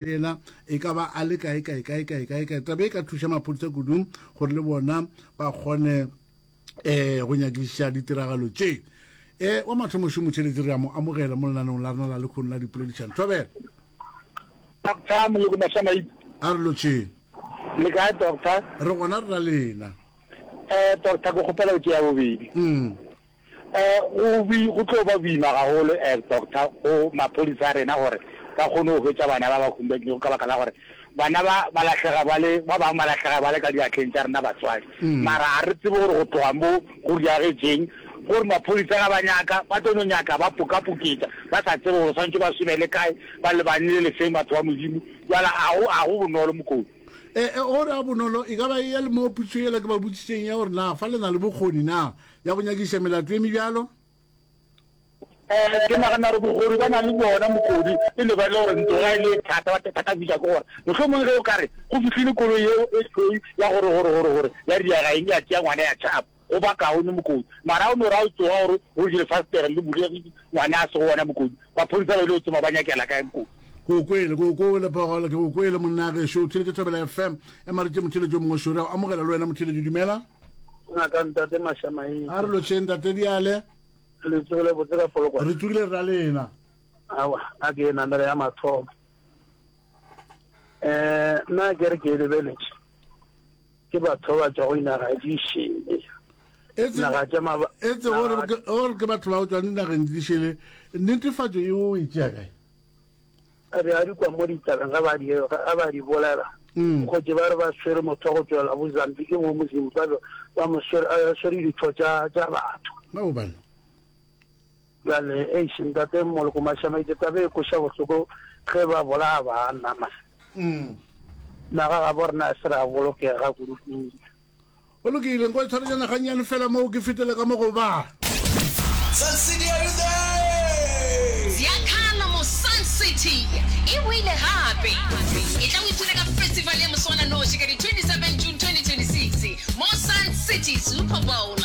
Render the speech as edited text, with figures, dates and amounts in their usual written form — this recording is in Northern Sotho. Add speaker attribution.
Speaker 1: Yena e ka ba a le kae kae kae kae kae kae. Taba e ka thuša maphodisa kudu gore le bona ba kgone um go nyakišiša ditiragalo tše. Um wa mathomo šo motheeletši re a mo amogela mo lenaneong la rena la lekhono la dipoledišano. Thobela.
Speaker 2: Doctor Moloko Mashamaite.
Speaker 1: A re lotšheng.
Speaker 2: Le kae doctor?
Speaker 1: Re gona re na lena.
Speaker 2: Eh doctor ke kgopela go tšea bobedi.
Speaker 1: Mm.
Speaker 2: Eh, go bi, go tlo ba boima gagolo, eh, doctor, go maphodisa a rena gore ba kgone go hwetša bana ba ba humbekilego ka baka la gore bana ba ba lahlega ba le, ba bangwe ba lahlega ba le ka diatleng tša rena batswadi. Mara ga re tsebe gore go tloga mo go diagetšeng, gore maphodisa ga ba nyaka, ba tlo no nyaka ba pokapoketša, ba sa tsebe gore swanetše ba somele kae, ba lebane le lefeng batho ba Modimo. Bjale ga go, ga go bonolo mokoti.
Speaker 1: E, e, gore a bonolo, e ka ba e ya le mo potšišo yela ke ba botšišeng ya gore na fa le na le bokgoni na ya go nyakišiša melato e mebjalo?
Speaker 2: Ee, ke nagana gore bokgoni ba na le bjona mokodi, e no ba e le gore ntlo ga e le e thata, ba thatafiša ke gore mohlomongwe ge o ka re go fihlile koloi yeo e tšhweu ya gore gore gore gore ya diega eng ya tšea ngwana ya tšhaba, go ba kaone mokodi. Mara ga o no re ga o tsoga gore go je lefastere le bulegile ngwana a se go ona mokodi, Maphodisa ba ile go tsoma ba nyakela kae Nkosi?
Speaker 1: Ke o kwele, ke o kwele Phogolo, ke o kwele monna gešo. O theletše Thobela FM. Ema re tše motheletši o mongwe šo. Re a o amogela le wena motheletši, dumela.
Speaker 3: Ngaka Ntate Mashamaite.
Speaker 1: A re lotšheng Ntate Diale.
Speaker 3: Le tsogile botse ka Polokwane?
Speaker 1: Re tsogile re ra lena.
Speaker 3: Awa, a ke e namele ya mathomo. Eh, nna ke re ke e lebeletše. Ke batho ba ba tšwago dinaga di šele.
Speaker 1: Naga tša maba. Etse gore gore ke batho ba go tšwa dinageng di šele, netefatšo e o e tšea kae?
Speaker 3: Re a di kwa mo ditabeng ga ba di ga ba di bolela. Mm. Kgotse ba re ba swere motho wa go tšwela bo Zambiki mo mo Zimbabwe ba mo swere a swere ditho tša tša batho.
Speaker 1: Ba bo bana.
Speaker 3: Bjale eish ntate Moloko Mashamaite taba e kweša bohloko ge ba bolaya banna man.
Speaker 1: Mm.
Speaker 3: Naga gabo rena e se ra bolokega kudu kudu.
Speaker 1: Go lokile, nko tshwarejana gannyane fela moo ke fetele ka mo go ba.
Speaker 4: Sun City are you there?
Speaker 5: Ziakhala mo Sun City e boile gape! Etla o ipshine ka festival ya moswananoši ka di 27 June 2026 mo Sun City Super Bowl.